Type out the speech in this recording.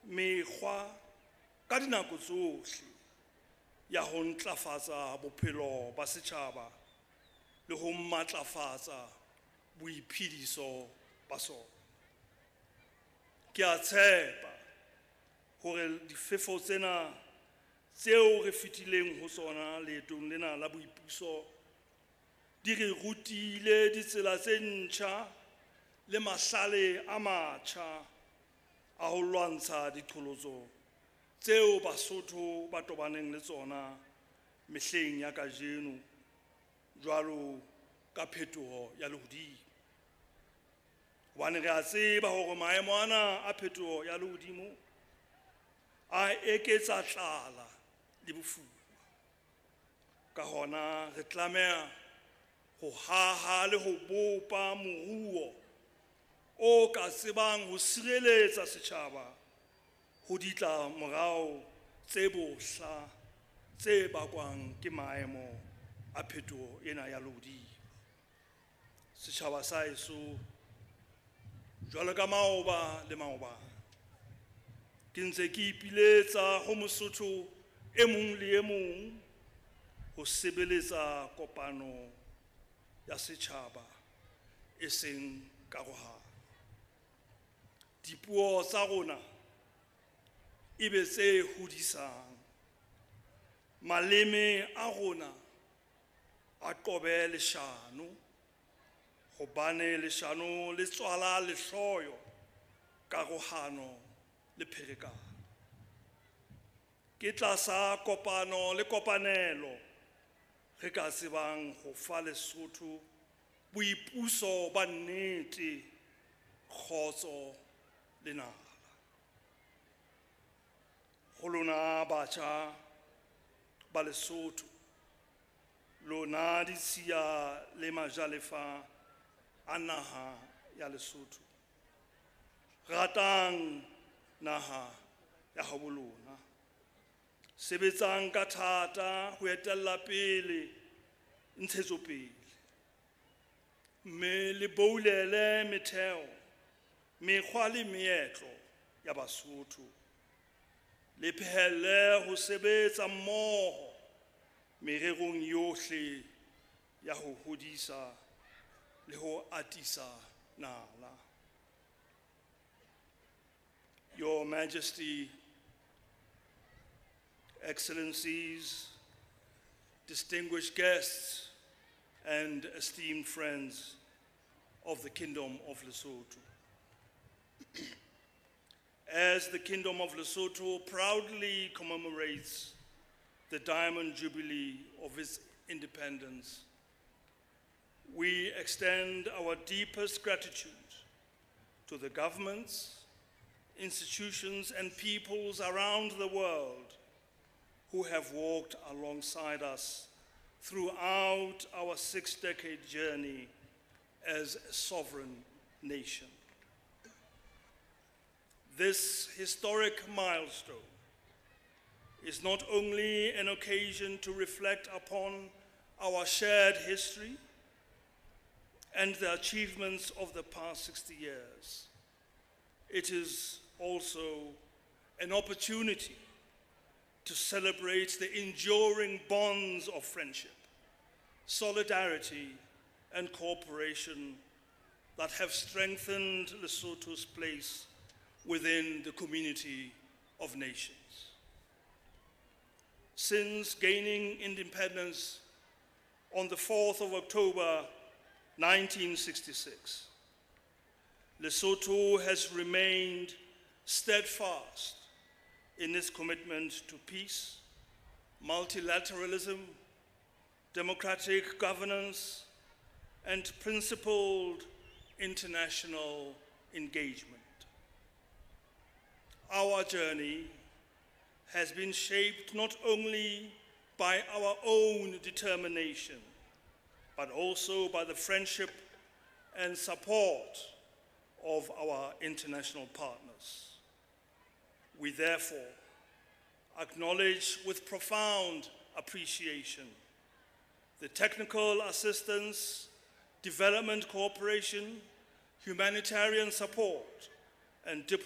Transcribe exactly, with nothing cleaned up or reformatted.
mekgwa ka dinako tsohle ya ho ntlafatsa bophelo ba setjhaba le ho matlafatsa boiphediso ba sona. Ke a tshepa hore difefo tsena tseo re fetileng ho tsona leetong lena la boipuso di re rutile ditsela tse ntjha le mahlale a matjha a ho lwantsha diqholotso tseo Basotho ba tobaneng le tsona mehleng ya kajeno jwalo ka phetoho ya lehodimo. Hobane re a tseba hore maemo ana a phetoho ya lehodimo a eketsa tlala le bofuma. Ka hona re tlameha ho haha le ho bopa moruo o ka tsebang ho sireletsa setjhaba ho ditlamorao tse bohla tse bakwang ke maemo a phetoho ena ya lehodimo. Setjhaba sa heso, jwalo ka maoba le maobane, ke ntse ke ipiletsa ho Mosotho e mong le e mong ho sebeletsa kopano ya setjhaba e seng karohano. Dipuo tsa rona e be tse hodisang, maleme a rona a qobe leshano, hobane leshano le tswala lehloyo, karohano le pherekano. Ke tlasa kopano le kopanelo re ka tsebang ho fa Lesotho boipuso ba nnete, kgotso le nala. Ho lona batjha ba Lesotho, lona ditshiya le majalefa a naha ya Lesotho, ratang naha ya habo lona, sebetsang ka thata ho etella pele ntshetsopele, mme le boulele metheo, mekgwa le meetlo ya Basotho, le phehelle ho sebetsa mmoho mererong yohle ya ho hodisa le ho atisa nala. Your Majesty, Excellencies, distinguished guests, and esteemed friends of the Kingdom of Lesotho. As the Kingdom of Lesotho proudly commemorates the Diamond Jubilee of its independence, we extend our deepest gratitude to the governments, institutions, and peoples around the world who have walked alongside us throughout our six-decade journey as a sovereign nation. This historic milestone is not only an occasion to reflect upon our shared history and the achievements of the past sixty years, it is also an opportunity to celebrate the enduring bonds of friendship, solidarity, and cooperation that have strengthened Lesotho's place within the community of nations. Since gaining independence on the fourth of October nineteen sixty-six, Lesotho has remained steadfast in its commitment to peace, multilateralism, democratic governance, and principled international engagement. Our journey has been shaped not only by our own determination, but also by the friendship and support of our international partners. We therefore acknowledge with profound appreciation the technical assistance, development cooperation, humanitarian support, and diplomatic